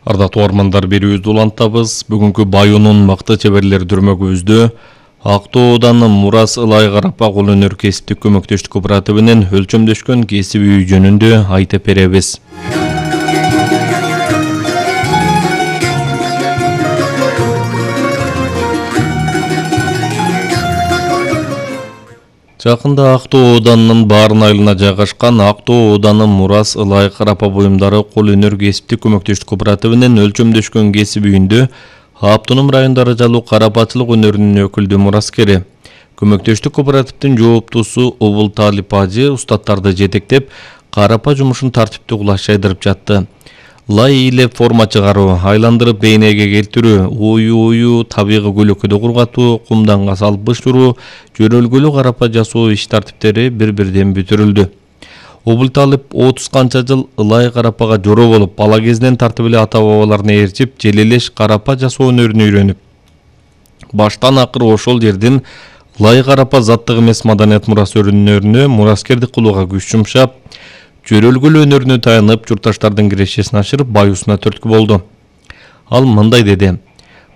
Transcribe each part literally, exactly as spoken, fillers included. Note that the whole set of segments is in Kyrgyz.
Ардактуу армандар, берүүбүздү улантабыз. Бүгүнкү Баюнун мыкты чеберлери дүрмөгүбүздө Актоодан Мурас Ылай Карапа кол өнөр кесиптик көмөктөштүк кооперативинин өлчөмдөшкөн кесип үйү жөнүндө айтып беребиз. Жакында Актоо ооданынын Баарын айылына жайгашкан Актоо ооданын Мурас Ылай Карапа буюмдары кол өнөр кесиптик көмөктөштүк кооперативинин өлчөмдөшкөн кесип үйүндө автоном райондары жалуу карапачылык өнөрүнүн өкүлдүү мураскери. Көмөктөштүк кооперативдин жооптусу Убулталип ажы устаттарды жетектеп, карапа жумушун тартиптүү кулаш жайдырып жатты. Лай ийилеп форма чыгаруу, айландырып бейнеге келтирүү, ою-ою табигый көлөкөдө кургатуу, кумданга салып бышыруу, жөрөлгөлүү карапа жасоо иш тартиптери бир-бирден бүтүрүлдү. Убулталип отуз канча жыл Ылай карапага жоро болуп, бала кезинен тартып эле ата-бабаларына ээрчип, желелеш карапа жасоо өнөрүнө үйрөнүп, баштан акыр ошол жердин Ылай карапа заттык эмес маданият мурас өнөрүнө мураскердик кылууга күч жумшап, жөрөлгөлүү өнөрүнө таянып, журтташтардын кирешесин ашырып, баюусуна түрткү болду. Ал мындай деди: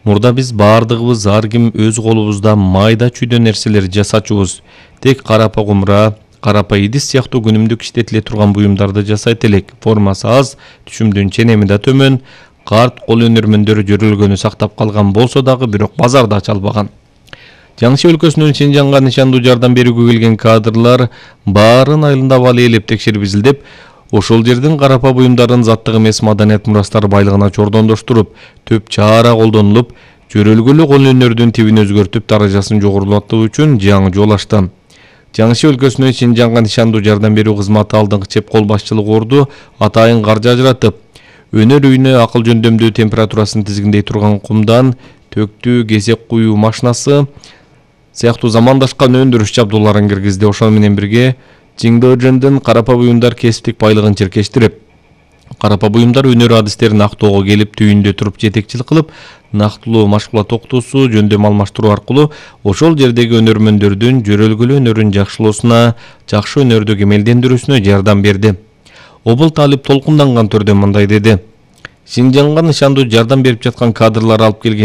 "Мурда биз баардыгыбыз ар ким өз колубузда майда чүйдө нерселер жасачубуз. Тек карапа кумура, карапа идис сыяктуу күнүмдүк иштетиле турган буюмдарды жасайт элек. Формасы аз, түшүмдүн ченеми да төмөн, карт кол өнөрмөндөрү жөрөлгөнү сактап калган болсо дагы, бирок базарда ача албаган." Жаңсы өлкөсүнөн Синжанга нишандуу жардам берүүгө келген кадрлар Баарын айылында бали ээлеп текшерип изилдеп, ошол жердин карапа буюмдарын заттык эмес маданият мурастар байлыгына чордондоштуруп, төп чара колдонулуп, жөрөлгөлүү кол өнөрдүн тибин өзгөртүп, даражасын жогорулатуу үчүн жаңы жол ачты. Жаңсы өлкөсүнөн Синжанга нишандуу жардам берүү кызматы алдыңкы чеп кол башчылыгы орду атайын каржы ажыратып, өнөр үйүнө акыл жөндөмдүү температурасын тизгиндей турган кумдан төктүү кесек куюу машинасы сыяктуу замандашкан өндүрүш жабдууларын киргизди. Ошол менен бирге Жиңдөөжөндөн карапа буюмдар кесиптик байлыгын черкештирип, карапа буюмдар өнөр адистерин Актоого келип, түйүндө туруп жетекчилик кылып, нактылуу машгулат окутуусу, жөндөм алмаштыруу аркылуу ошол жердеги өнөрмөндөрдүн жөрөлгөлүү өнөрүн жакшылоосуна, жакшы өнөрдү кемелдендирүүсүнө жардам берди. Убулталип толкунданган түрдө мындай деди: "Синжанга нишандуу жардам берип жаткан кадрлар алып келген